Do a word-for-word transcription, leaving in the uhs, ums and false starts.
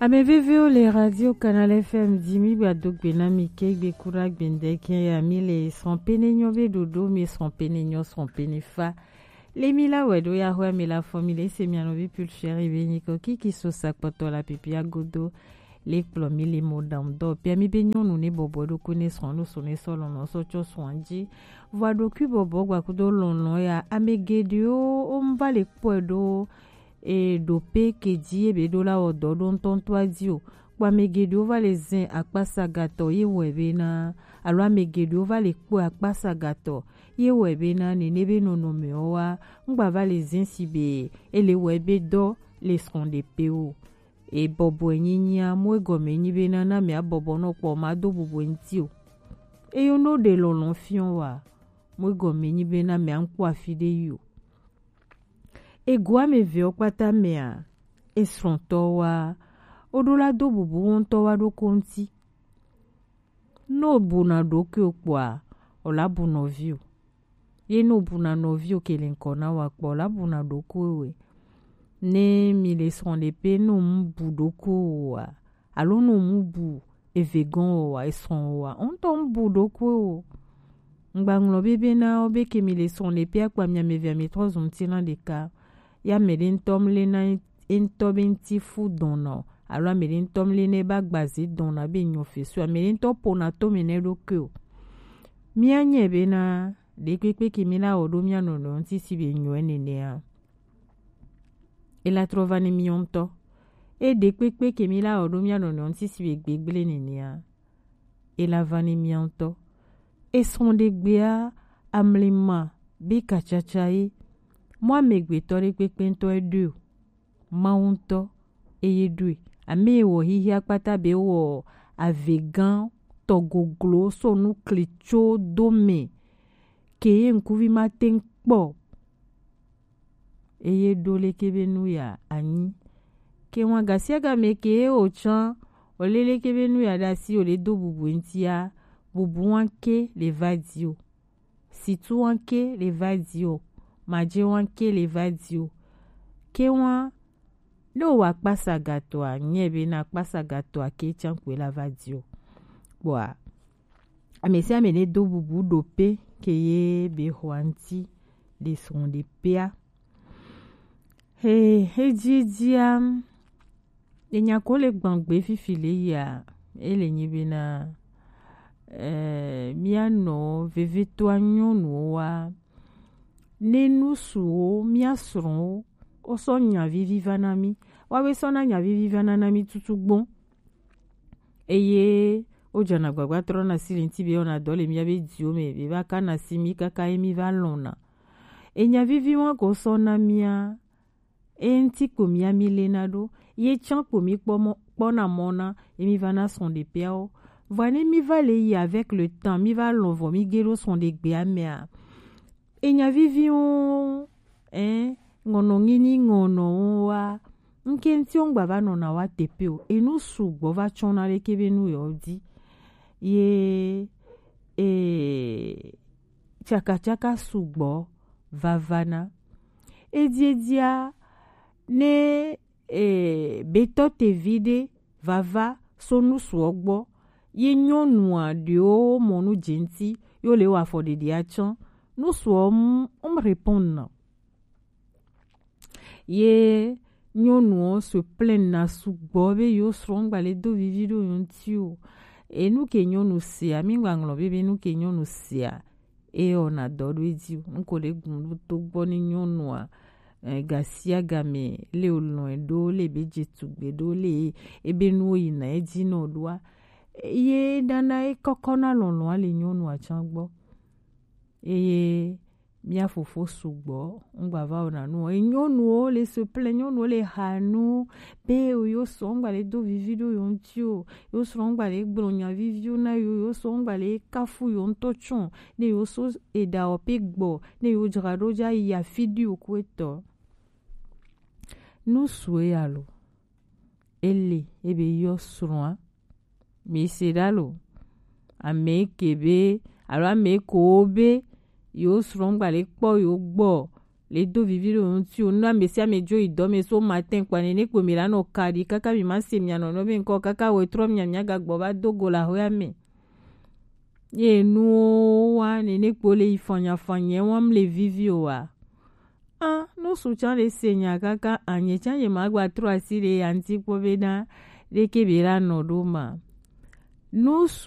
Amɛ vevewo le Radio Canal F M di mi gba do gbe na mi ke gbe kura gbendeke ya mi le srɔ̃ pene nyɔ be ɖoɖo mi srɔ̃ pene nyɔ srɔ̃ pene fa. Le mi la wɛ ɖo ya hɔ mi la fɔ mi le se mi anɔvi pulcheri be nyi ko kiki so sakpɔtɔ la pipia godo. Le kplɔ mi le mo dam dɔ pia mi be nyɔnu ne bɔbɔ ɖo ko ne srɔ̃ no so ne sɔ lɔnɔ sɔ tsɔ srɔ̃ dzi. Vɔ aɖokui bɔbɔ gba kudo lɔnɔ ya ame geɖewo wo va le kpɔe ɖo e ɖo pe ke dzi ebe ɖo la wɔ dɔ ɖo ŋutɔŋutɔa dzi o. Kpɔ ame geɖewo va le zɛ akpasagatɔ ye wɔe bena alo ame geɖewo va le kpɔe akpasagatɔ ye wɔe bena nene be nɔnɔmewo wa ŋgba va le zɛ si be ele wɔe be dɔ le srɔ̃ ɖe pe o. E bɔbɔe nyinyia mo egɔme nyi bena na mea bɔbɔ nɔ kpɔ ma do bubu ŋti o. Eyo no ɖe lɔlɔ fiɔ wa mo egɔme nyi bena mea ŋkpɔ afi ɖe yi o. Ego ame evewo kpata mea, esrɔ̃tɔ wa, woɖo la do bubu wo ŋutɔ wa ɖo ko ŋuti. Ne wòbuna ɖokuiwò kpɔa, wòla bu nɔviwò. Ye ne wòbuna nɔviwò ke le ŋkɔ na wò kpɔ, wòla buna ɖokuiwò. Ne mi le srɔ̃ɖeƒe, ne wòmu bu ɖokuiwò oa, alo ne wòmu bu eve gɔ̃ oa, esrɔ̃ oa, wò ŋutɔ mu bu ɖokuiwò. Ŋgbaŋlɔ be bena wo be ke mi le srɔ̃ɖeƒe akpa mi ame eve ame etɔ̃ zɔn ŋutilã ɖeka. Ya ame ɖe ŋutɔ mu le na ye ŋutɔ be ŋuti fu dɔn na o, alo ame ɖe ŋutɔ mu le na ebe agbaze dɔn na be nyɔ fesu, ame ɖe ŋutɔ ƒona to me na eɖokui o. Mía nyɛ bena ɖekpekpe ke mi la wɔ ɖo mía nɔnɔewo ŋuti si be nyɔe nenea, ela trɔ va ne mía ŋutɔ. Eye ɖekpekpe ke mi la wɔ ɖo mía nɔnɔewo ŋuti si be gbegblẽ nenea, ela va ne mía ŋutɔ. Esrɔ̃ɖegbea amlima be katsatsa ye, mɔ amegbetɔ ɖekpekpe ŋutɔ eɖoe o. Mawu ŋutɔ eye ɖoe. Ame wɔ xixia kpata be wɔ avegã tɔgoglo so nu klitso do me ke ye ŋkuvi ma te ŋ kpɔ. Eye ɖo leke be nu ya anyi. Ke ŋua gasiagame ke ye wòtsã wòle leke be nu ya ɖe asi wòle do bubu ŋutia, bubu wa ke le va di o. Situ wa ke le va di o, madze wa ke le va di o. Ke wa ne wò akpasagatɔa, nyɛ be na akpasagatɔa ke tsã kpoe la va di o. Kpɔa, ame sia ame ne do bubu ɖo pe ke ye be xɔa ŋuti le srɔ̃ɖeƒea. He, he dziedzia, enya ko le gbãgbe fifi le yia, ele nyi bena, eh, mía nɔ vevitɔa nyɔnuwo wa, ne nusuwo, mía srɔ̃wo, wosɔ nya vivi va na mí. Woawoe sɔ na nya vivi va na na mí tutugbɔ. Eye wodzana agbagba trɔna asi le ŋuti be yewɔna dɔ le mía be diwo me, be va kana asi mí kaka ye mí va lɔ̃na. Enya vivi wa ko sɔ na mía, eye ŋuti kpo mía mí lena ɖo, ye tsã kpo mí kpɔ mɔ, kpɔna mɔ na, ye mí va na srɔ̃ɖeƒeawo. Vɔa ne mí va le yi avec le temps, mí va lɔ̃ vɔ mí ge ɖo srɔ̃ɖegbea mea, enya viviwo, eh, ŋɔnɔ ŋini ŋɔnɔwo wa, ŋke ŋuti wo ŋgba va nɔna wa teƒe o. Enu sugbɔ va tsɔna leke be nu yewo di. Ye, eh, tsakatsaka sugbɔ vavana. Edziedzie ne, eh, betɔ tevi ɖe vava so nusuɔ gbɔ, ye nyɔnua ɖewo mɔ nu dze ŋuti, yo le wɔ afɔɖeɖea tsã. Nusuɔ mu, um répondre na. Ye nyɔnuwo se plaindre na sugbɔ be yewo srɔ̃ ŋgba le do vivi ɖo yewo ŋuti o. Enu ke nyɔnu sea, mi ŋgba ŋlɔ be, be nu ke nyɔnu sea, e wɔna dɔ ɖo edzi o. Ŋko le gun ɖo to gbɔ ne nyɔnua, eh, gasiagame le wolɔ̃e ɖo, le be dze tugbe ɖo, le ebe nuwo yina edzi nɔ ɖoa, ye nana ekɔkɔna lɔlɔ̃a le nyɔnua tsã gbɔ. Eye mía fofo sugbɔ ŋgba va wɔna nu o. Eye nyɔnuwo le se plaindre, nyɔnuwo le ha nu be yewo srɔ̃ ŋgba le do vivi ɖo yewo ŋuti o, yewo srɔ̃ ŋgba le gblɔ nya viviwo na yewo, yewo srɔ̃ ŋgba le kafu yewo ŋutɔ tsɔ, ne yewo so eɖa wɔƒe gbɔ, ne yewo dzra ɖo dza yi afi ɖi o ku etɔ. Nu sue alo ele ebe yɔ srɔ̃a. Mi se ɖa lo. Ame ke be, alo ame ko wo be, yewo srɔ̃ ŋgba le kpɔ yewo gbɔ le do vivi ɖo ŋuti o. Nu ame sia ame dzo yi dɔ me so matin kpa nene kpo mi la nɔ ka ɖi kaka mi ma se mia nɔnɔ be ŋkɔ kaka wɔ trɔ mia mia gagbɔ va do go la hɔa me. Ye nuwo wa nene kpo le yi fanya fanya wɔm le vivi o wa. Ah, nusu tsã le se nya kaka anye tsã ye ma gba trɔ asi le ya ŋuti kpɔ be na ɖeke be la nɔ ɖo ma. Nusu